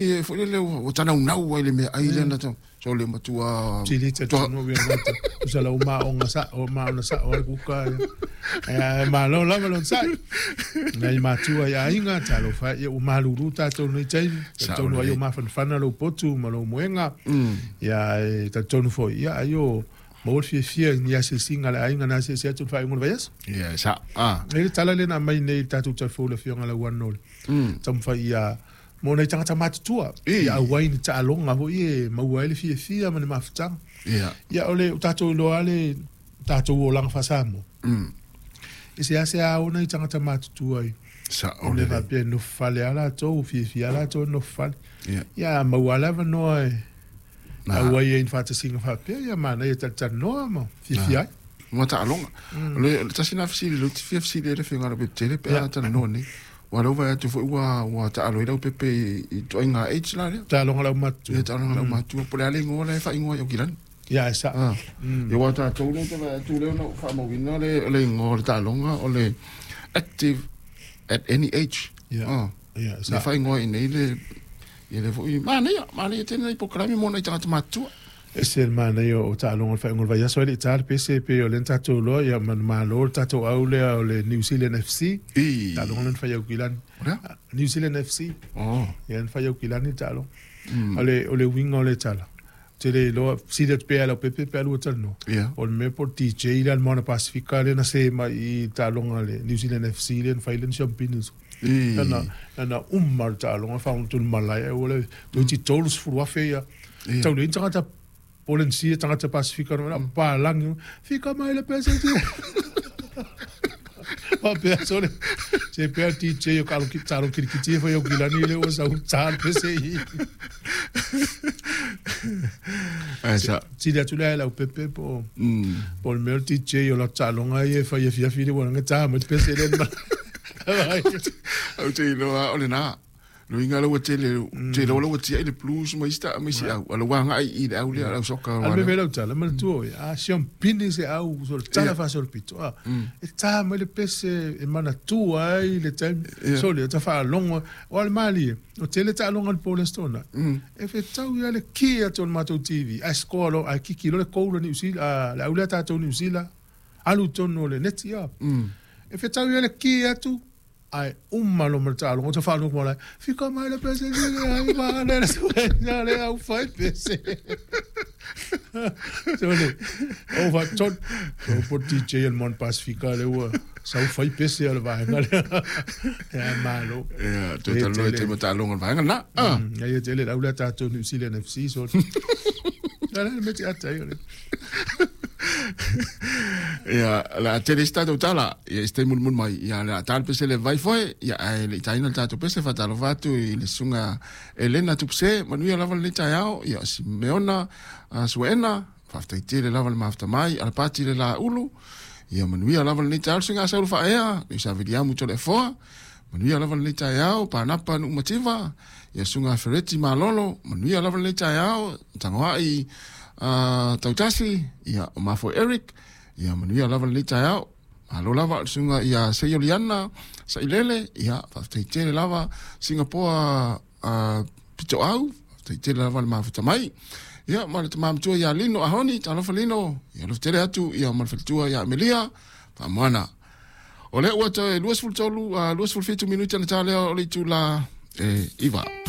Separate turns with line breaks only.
E foi lele ua tanaunau ai le meaai lea na tau. So le matua
Sili talitonu ia gata. Tusa lau maoga sao, maona sao ai le kuka ia. Ae malo lava le onosai. Nai matua i aiga, talofa e, ia ua malulu tatou i lenei taimi. Talitonu ai o mafanafana lou potu ma lou moega. Ia ae talitonu foi, ia ai o maua le fiafia i ni asiasiga a le aiga na asiasi atu i le faaiuga o le vaiaso.
Ia, e sao. Ah.
E i ai le tala lea na aumai nei i le tatou talafou i le Afioga ia Lauano, le taumafai ia Mo nai tagata matutua, ia auai ni taaloga foi e maua ai le fiafia ma le mafutaga. Ia o le o tatou iloa lava le tatou olaga faa-Samoa, e seasea o nai tagata matutua i mea faapea e nofo fale lava latou, fiafia lava latou e nofo fale. Ia a maua lava le avanoa e auai ai i ni faatasiga faapea, ia manaia e talatalanoa ma fiafia ai.
Ma taaloga. O le tasi lena fesili lea ou te fia fesili ai le Afioga ia Leaupepe pe a talanoa nei. Aua o lea ua vaai atu foi ua taalo ai Leaupepe i ituaiga age la lea.
Taaloga laumatua.
Ia, taaloga laumatua. Po o le a le igoa la e faaigoa ai Aukilani.
Ia, e sao.
Ia, aua o tatou lea ou te vaai atu lea na ou faamauina le igoa o le taaloga o le Active at Any Age.
Ia, ia, e sao.
Lea e faaigoa i inei le, ia lea foi, manaia, manaia tele nai polokalame mo nai tagata matutua.
Ese le manaia o taaloga o le faaiuga o le vaiaso ai le i ta le pese pei o lea na tatou iloa ia manumalo le tatou au lea o le New Zealand FC.
I.
Taaloga lea na fai i Aukilani.
O le a?
New Zealand FC.
Oh.
Ia na fai i Aukilani le taaloga. O le uiga o le tala, ou te le iloa, fesili atu pea ia Leaupepe pe a lua talanoa.
Ia.
O le mea po o le DJ lea a le Moana Pasifika lea na se mai i le taaloga a le New Zealand FC lea na fai lea na siamupini.
I.
Lana uma le taaloga faagoto i le malae ai ua le toeitiiti 30,000 ia. Tau leai ni tagata Polenisia, tagata Pasifika na palagi, fika mai le pese ti. Faapea sole, se pea DJ o kalo talo kirikiti e fai au kilani le ua sau ta le pese i.
Ai sa.
Sili atu le lau pepe po po le mea DJ o la taaloga ia e fai afiafi le ua ta mai le pese le.
Ou te iloa o lena. Luiga lau ua tele, te iloa lau ua tiai le blues ma isi ma isi au. A lau ua agai i le au lea, le au soka.
A le mea lau tala, manatua oe, a siampini se au, so le tala faasolopito, a, e ta mai le pese e manatua ai le taimi, sole, o ta faalogo, aua o le malie, o tele taaloga a le po o le Aso Toonai, e fetau ia le ki atu o le matou TV, ae score loa, ae kiki loa le goal a Niu Sila, le au lea a tatou Niu Sila, alu i totonu o le neti, a. E fetau ia le ki atu, Ae uma loa ma le taaloga, ta faalogo malae, fika mai le pese sili ai ma le le le au fai pese. So le, o fa ton, o po DJ el Mon Pasifika le ua sau fai pese a le vaega lea. Ia malo.
Ia, toe talanoa i te taaloga o le vaega lena.
Ah. Ia tele lau lea tatou New Zealand FC so. Ala le meti ata ia le.
Ia, o le a tele isi tatou tala, ia i se taimi mulimuli mai, ia o le a ta le pese le vai foe, ia ae le i taina le tatou pese, faatalofa atu i le susuga Elena Tupuse, manuia lava lenei taeao, ia o Simeona Suaena, faafetai tele lava le mafuta mai, Alapati le Laulu, ia manuia lava lenei taeao, le susuga Saulo Faaea, Leusa Viliamu Toleafoa, manuia lava lenei taeao, Panapa Nuumativa, ia susuga Fereti Malolo, manuia lava lenei taeao, Tagoai Tautasi, ia o Mafoe Eric, ia manuia lava lenei taeao. Malo lava le susuga ia Seioliana Sailele, ia faafetai tele lava Singapoa Pitoau, faafetai tele lava le mafuta mai. Ia ma le tama matua ia Lino Ahoni, talofa Lino, ia alofa tele atu ia ma le faletua ia Amelia, faamoana. O lea ua toe 23, 27 minute ona ta lea o le itula e 9.